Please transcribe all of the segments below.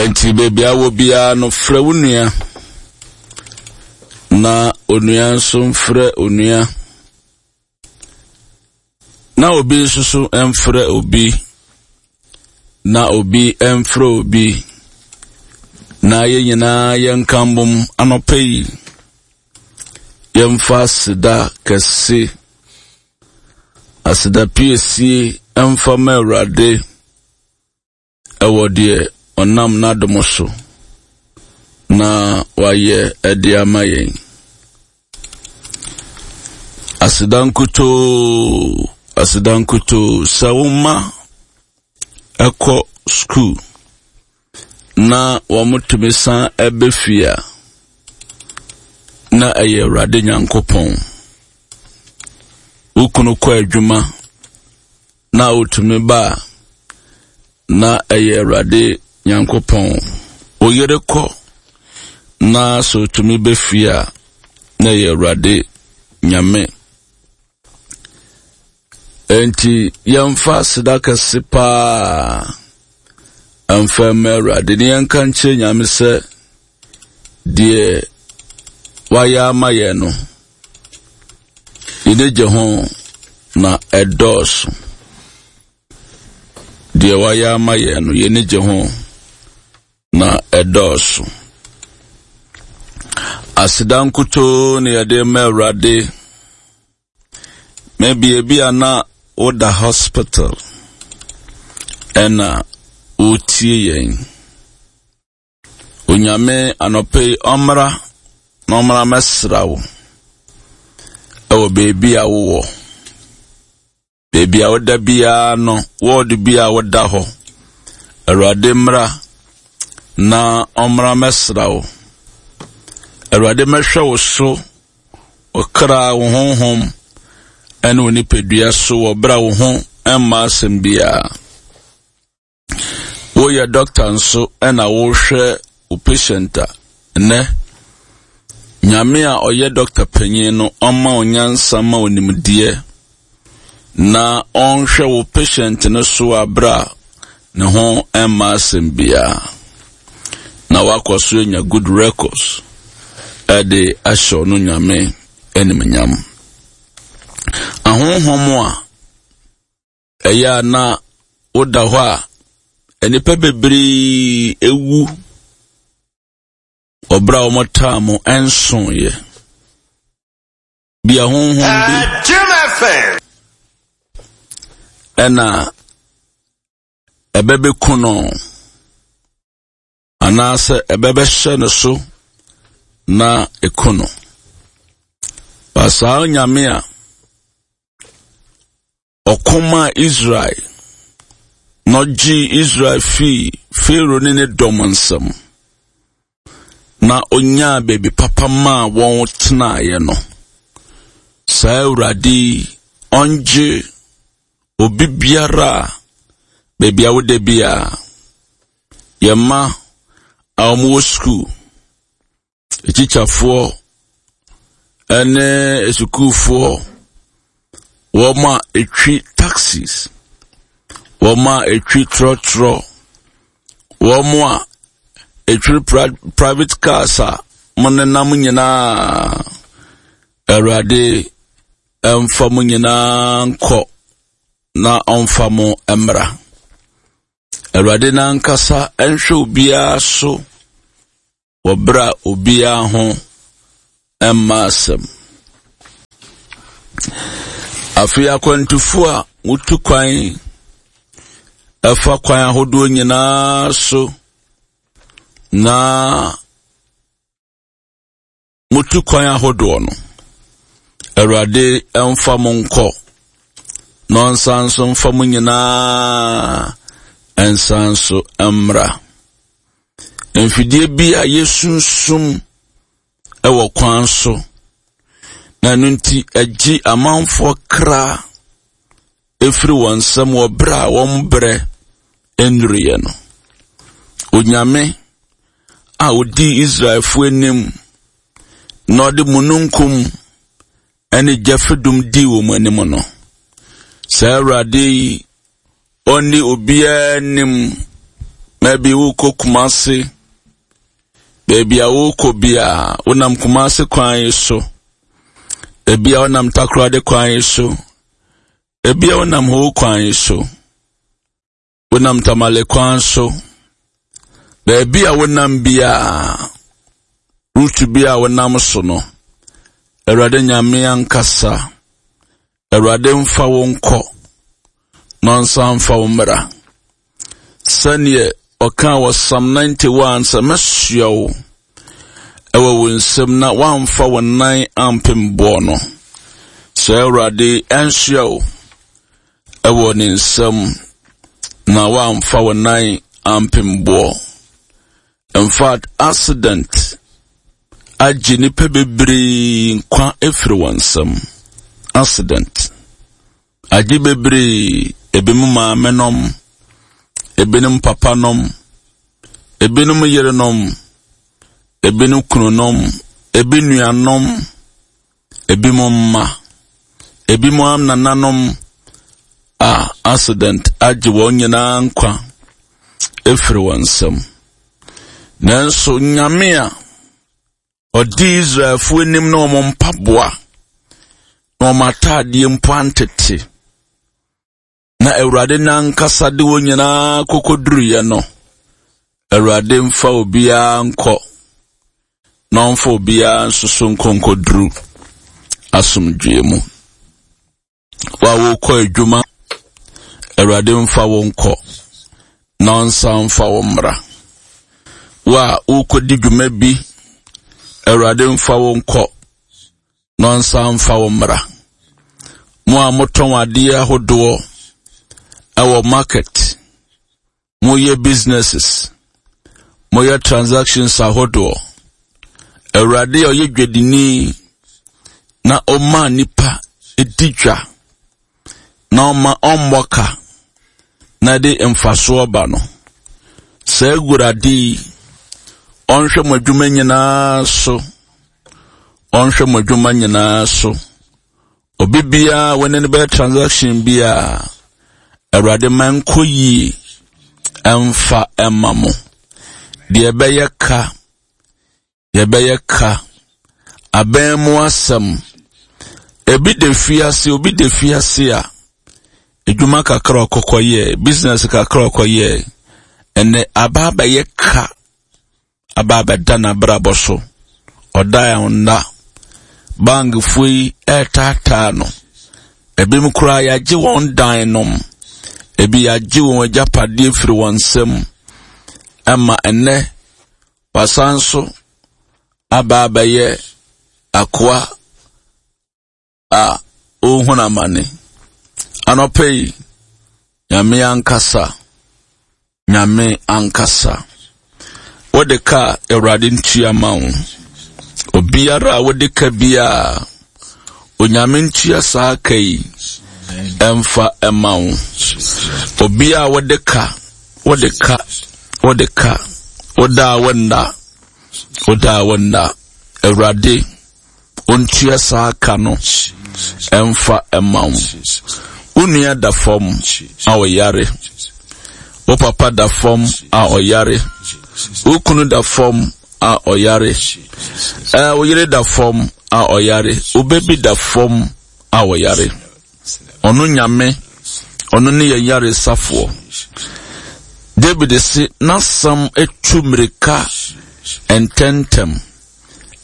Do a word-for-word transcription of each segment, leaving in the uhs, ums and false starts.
Enti baabi a wɔ biara no, frɛ wo nua na onua nso mfrɛ onua, na obi nso so mfrɛ obi, na obi mfrɛ obi, na yɛn nyinaa yɛnka mbom anɔpa yi, yɛmfa aseda kɛse, aseda piesie mfa ma Awurade ɛwɔ deɛ ɔnam n'adom so na wayɛ ɛde ama yɛn. Aseda nkutoo, aseda nkutoo, sɛ wo mma ɛkɔ sukuu na wɔtumi san ɛbɛ fie a, na ɛyɛ Awurade Nyankopɔn. Wo kunu kɔ adwuma na otumi ba a, na ɛyɛ Awurade Nyankopɔn. Wo yere kɔ na sɛ otumi bɛ fie a, na ɛyɛ Awurade Nyame. Enti yɛmfa aseda kɛse paa mfa mma Awurade na yɛnka nkyerɛ Nyame sɛ deɛ wayɛ ama yɛn no, yɛn gye ho na ɛdɔɔso. Deɛ wayɛ ama yɛn no, yɛn gye ho na ɛdɔɔso. Aseda nkutoo na yɛde ma Awurade. Maybe ebi a na woda hospital ɛna wotie yɛn. Onyame anɔpa yi ɔmmra na ɔmmra mɛsra wo ɛwɔ beebi a wowɔ. Beebi a woda biara no, wɔɔdo bi a woda hɔ. Awurade mmra na ɔmmra mɛsra wo. Awurade mɛhwɛ wo so, wo kra, wo honhom, ɛne wo nipadua so wɔ berɛ a wo ho mma asɛm biara. Woyɛ dɔkta nso ɛna wohwɛ wo patient a, nnɛ Nyame a ɔyɛ dɔkta panyin no ɔma wo nyansa ma wo nimdeɛ na ɔnhwɛ wo patient no so aberɛ a ne ho mma asɛm biara na wakɔ so anya good records ɛde ahyɛ ɔno Nyame animuonyam. Ahonhom a ɛyɛ a na woda hɔ a nnipa bebree ewu ɔbrɛ a wɔtaa mo nsoeɛ bi ahonhom bi ɛna ɛbɛbɛku no anaasɛ ɛbɛbɛhyɛ no so na ɛku no. Ba saa Nyame a ɔko maa Israel na ɔgyee Israel fii Farao ne ne dɔm nsam na onyaa baabi papa maa wɔn tenaeɛ no, saa Awurade yi ɔngye obi biara a baabi a woda biara, yɛn mma a wɔwɔ sukuu, atikyafoɔ ne asukuufoɔ, wɔn a ɛtwi taxis, wɔn a ɛtwi trɔtrɔ, wɔn a ɛtwi private cars a mo nenam nyinaa, Awurade ɛmfa mo nyinaa nkɔ na ɔmfa mo mmra. Awurade n'ankasa nhwɛ obiara so wɔ berɛ a obiara ho mma asɛm. Afei akwantufo a wotu kwan ɛfa kwan ahodoɔ nyinaa so na motu kwan ahodoɔ no, Awurade mfa mo nkɔ na ɔnsan nso mfa mo nyinaa nsan so mmra. Mfidie bi a yɛsunsum wɔ kwan so, na ɛno nti ɛgye amanfoɔ kra ɛfiri wɔn nsam wɔ berɛ a wɔn berɛ nnuruiɛ no. Onyame a ɔdii Israelfoɔ anim na ɔde mununkum ne gya fadum dii wɔn anim no, saa Awurade yi ɔnni obiara anim Maybe wokɔ Kumase, baabi a wokɔ biara, wonam Kumase kwan yi so. Ebia wonam Takoradi kwan yi so. Ebia wonam Ho kwan yi so. Wonam Tamale kwan so. Baabi a wonam biara, route bi a wonam so no, Awurade Nyame ankasa, Awurade mfa wo nkɔ, na ɔnsan mfa wo mmra. Sɛneɛ ɔkaa wɔ Psalm ninety-one sɛ, mɛsoa wo ɛwɔ wo nsam na woamfa wo nan ampem boɔ no. Sɛ Awurade ɛnsoa wo ɛwɔ ne nsam na woamfa wo nan ampem boɔ. In fact, accident agye nnipa bebree nkwa efiri wɔn nsam. Accident agye bebree, ebinom maame nom, ebinom papa nom, ebinom yerenom, ebinom kununom, ebi nuanom, ebinom mma, ebinom anananom a accident agye wɔn nyinaa nkwa efiri wɔn nsam. Nanso Nyame a ɔdi Israelfoɔ anim na wɔn mpaboa na wɔn ataadeɛ mpo antete, na Awurade n'ankasa de wɔn nyinaa kɔkɔduruiɛ no, Awurade mfa obiara nkɔ na ɔmfa obiara nso so nkɔ nkɔduru asomdwoeɛ mu. Wo a wokɔ adwuma, Awurade mfa wo nkɔ na ɔnsan mfa wo mmra. Wo a wokɔdi dwuma bi, Awurade mfa wo nkɔ na ɔnsan mfa wo mmra. Mo a motɔn adeɛ ahodoɔ ɛwɔ market, moyɛ businesses, moyɛ transactions ahodoɔ, Awurade a ɔyɛ dwadini na ɔma nipa di dwa na ɔma ɔmmɔ ka na de mfasoɔ ba no, saa Awurade yi ɔnhwɛ mo adwuma nyinaa so, ɔnhwɛ mo adwuma nyinaa so. Obi biara wɔne no bɛyɛ transaction biara, Awurade ma nkɔ yie ɛmfa ɛma mo. Deɛ ɛbɛyɛ ka, deɛ ɛbɛyɛ ka, abɛn mu asɛm. Ebi da fiase, obi da fiase a, edwuma kakra ɔkɔkɔ yɛ, business kakra ɔkɔ yɛ, ɛnɛ aba abɛyɛ ka, aba abɛda n'abrabɔ so. Ɔda a ɔnda. Bankfoɔ yi ɛretaataa no. Ebinom koraa yɛagye wɔn dan nom. Ebi yɛagye wɔn agyapadeɛ firi wɔn nsam. Ɛma ɛnɛ wasan so aba abɛyɛ akoa a ɔrehunu amane. Anɔpa yi, Nyame ankasa, Nyame ankasa. Wode ka Awurade ntua ma wo. Obiara a wode ka biara, Onyame ntua saa ka yi ɛmfa ɛma wo. Obiara a wode ka, wode ka, wode ka, woda a wonna, woda a wonna, Awurade ontua saa ka no ɛmfa ɛma wo. Wo nua da fam a ɔyare, wo papa da fam a ɔyare, wo kunu da fam a ɔyare, ɛɛ wo yere da fam a ɔyare, wo baby da fam a ɔyare. Ɔno Nyame, ɔno ne yɛn yaresafoɔ. David se n'asɛm etu mmirika ntɛntɛm.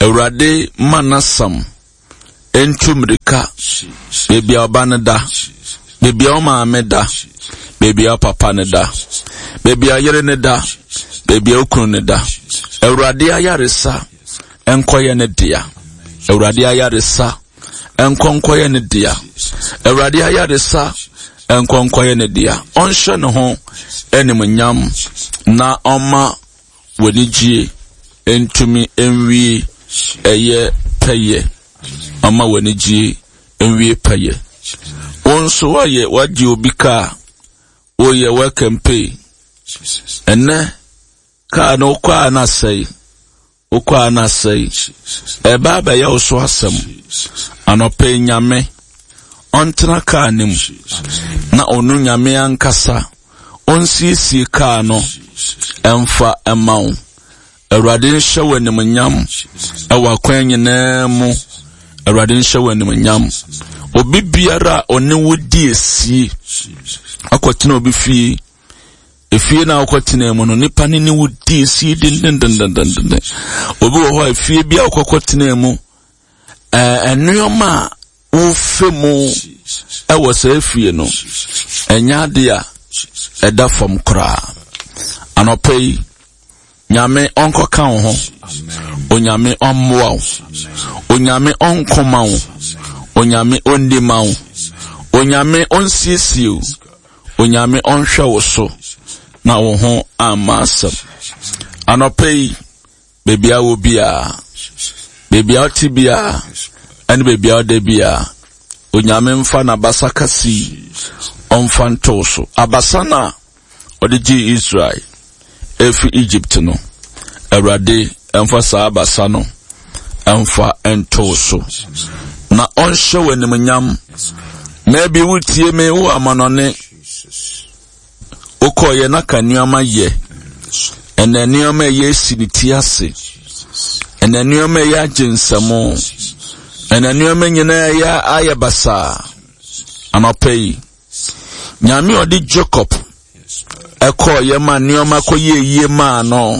Awurade ma n'asɛm ntu mmirika baabi a ɔba no da, baabi a ɔmaame da, baabi a ɔpapa no da, baabi a yere no da, baabi a okunu no da. Awurade ayaresa nkɔyɛ ne dea. Awurade ayaresa nkɔ nkɔyɛ ne dea. Awurade ayaresa nkɔ nkɔyɛ ne dea. Ɔnhyɛ ne ho animuonyam na ɔma w'anigye ntumi nwie ɛyɛ pɛyɛ. Ɔma w'anigye nwie pɛyɛ. Wo nso woayɛ wagye obi kaa, woyɛ work and pay. Ɛnɛ kaa no wokɔ a na asɛe, wokɔ a na asɛe. Ɛba abɛyɛ wo so asɛm. Anɔpa yi Nyame ɔntena kaa no mu na ɔno Nyame ankasa ɔnsiesie kaa no ɛmfa ɛma wo. Awurade nhyɛ wo animuonyam ɛwɔ akwan nyinaa mu. Awurade nhyɛ wo animuonyam. Obi biara a ɔne wo di esie akɔtena obi fie, efie na akɔtena mu no, nipa ne ne wo di esie dendendendenden. Obi wɔ hɔ a efie bi a ɔkɔkɔtena mu, ɛɛ nneɛma a wofe mu ɛwɔ saa efie no, ɛnyɛ ade a ɛda fam koraa. Anɔpa yi, Nyame ɔnkɔka wo ho. Onyame ɔmmoa wo. Onyame ɔnkoma wo. Onyame ɔndi ma wo. Onyame ɔnsiesie wo. Onyame ɔnhwɛ wo so na wo ho amma asɛm. Anɔpa yi, baabi a wɔ biara, baabi a wote biara, ɛne baabi a woda biara, Onyame mfa n'abasa kɛse yi ɔmfa nto wo so. Abasa no a ɔde gyee Israel efi Egypt no, Awurade mfa saa abasa no mfa nto wo so na ɔnhyɛ wo animuonyam. Maybe wotie me wo amanɔne, wokɔɔyɛ na ka nneɛma yɛ, ɛnna nneɛma ɛyɛ si ne ti ase, ɛnna nneɛma ɛyɛ agye nsɛmo, ɛnna nneɛma nyinaa ɛyɛ ayɛ basaa. Anɔpa yi, Nyame a ɔde Jacob ɛkɔɔyɛ ma nneɛma kɔyɛɛ yie maa no,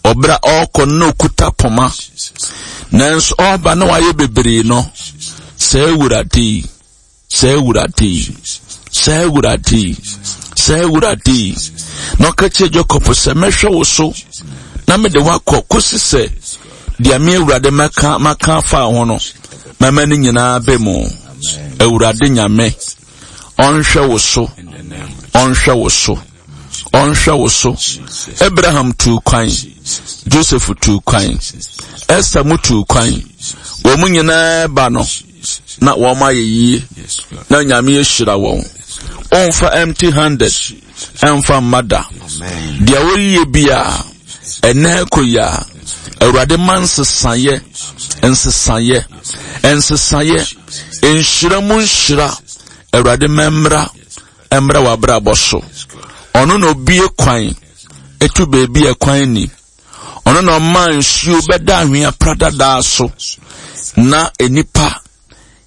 ɔberɛ a ɔrekɔ no na ɔkuta poma, nanso ɔreba na wayɛ bebree no, saa Awurade yi, saa Awurade yi, saa Awurade yi, saa Awurade yi, na ɔka kyerɛ Jacob sɛ, mɛhwɛ wo so na mede woakɔ kɔsi sɛ deɛ me Awurade mɛka maka afa ho no mɛma no nyinaa bɛ mu. Awurade Nyame ɔnhwɛ wo so, ɔnhwɛ wo so, ɔnhwɛ wo so. Abraham tuu kwan, Joseph tuu kwan, Esther mu tuu kwan. Wɔn mu nyinaa ba no na wɔn ayɛ yie na Nyame ahyira wɔn. Ɔmfa empty handed ɛmfa mma da. Deɛ wɔyɛ biara ɛnɛ kɔ yi a, Awurade ma nsesayɛ, nsesayɛ, nsesayɛ, nhyira mu nhyira. Awurade ma mmra, mmra w'abrabɔ so. Ɔno na obie kwan, etu beebi a kwan ni. Ɔno na ɔma nsuo bɛda anwea pradadaa so, na nnipa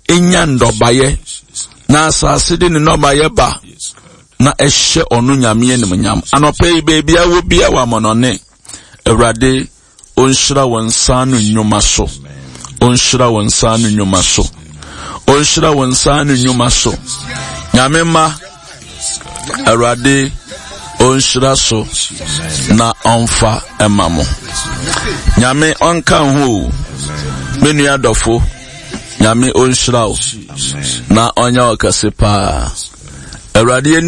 nya nnɔbaeɛ, na asase de ne nnɔbaeɛ ba, na ɛhyɛ ɔno Nyame animuonyam. Anɔpa yi, baabi a wɔ bia wɔ amɔnɔne, Awurade ɔnhyira wɔn nsa ano nnwuma so. Ɔnhyira wɔn nsa ano nnwuma so. Ɔnhyira wɔn nsa ano nnwuma so. Nyame mma, Awurade ɔnhyira so na ɔmfa ɛma mo. Nyame ɔnka ho o. Me nua dɔfo, Nyame ɔnhyira wo na ɔnyɛ wo kɛse paa. Awurade ani